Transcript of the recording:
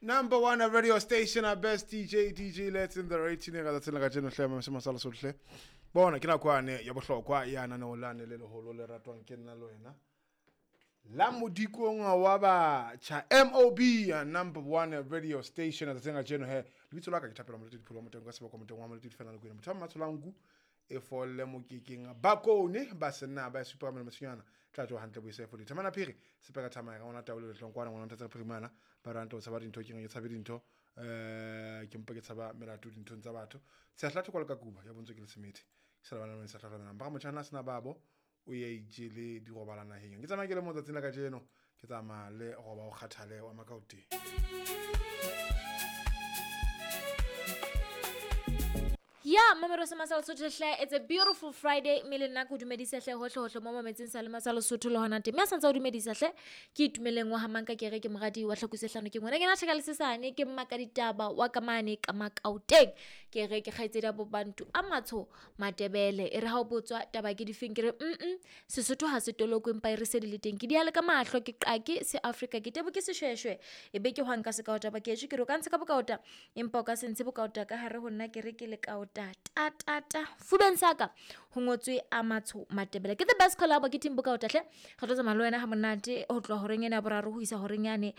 Number one radio station, our best DJ, DJ Let's in the rating ka tsatsing la kajeno hle mamese masala sohle. Bona ke nako yane ya bohlokwa ya naneo lane le leholo le ratwang ke nna le wena. La modikong wa batjha MOB, number one radio station tsatsing la kajeno he. Lebitso la ka ke Thapelo Moleti Dipholo wa Moteng ka sebaka Moteng wa Moleti Fela Lekwena. Motho wa Mmatsholanku e folle mokekeng bakone ba senna ba supa ka mosinyana tla tsoa hantle boise fo dithamana phiri sepeka thamaya ka ngwana taolo letlong kwana ngwana nthatsa phirimana ba ranta o tshaba dintho ke ke tshabe dintho ke mpa ke tshaba melato dinthong tsa batho sehla thoko le ka kuba ya bontswe ke le semethe ke sa bana sa tlhokomela ba motjhana sena babo o ya ijele di robala naheng ke tsamaya ke le mo tsatsing la kajeno ke tsamaya le roba o kgathale wa Makaoteng. Ya mamelo sa Masala Sotho hle, it's a beautiful Friday mme le nna ke o dumedisa hle hohle hohle mo mametseng sa le Masala Sotho le hona teng. Mme a santse o dumedisa hle ke itumeleng wa hamang ka kere ke moradi wa tlhakuse hlano ke ngwana ke na thaka le sesane ke mmaka ditaba wa ka mane ka Makaoteng. Ke re ke kgaitsedi ya bobantu a matsho Matebele e re ha o botswa taba ke difeng ke re Sesotho ha se tolokwe empa e re se di le teng ke di ale ka mahlo ke qake se Afrika ke tebo ke seshweshwe e be ke hwang ka sekaota ba ke ke re o ka ntsha ka bokaota empa o ka se ntshe bokaota ka hare ho nna ke re ke le kaota ta ta ta fubeng saka ho ngotswe a matsho Matebele ke the best collab ke team bokaota hle re tlo tsamaya le wena ha monate ho tloha horeng ena ya boraro ho isa horeng yane.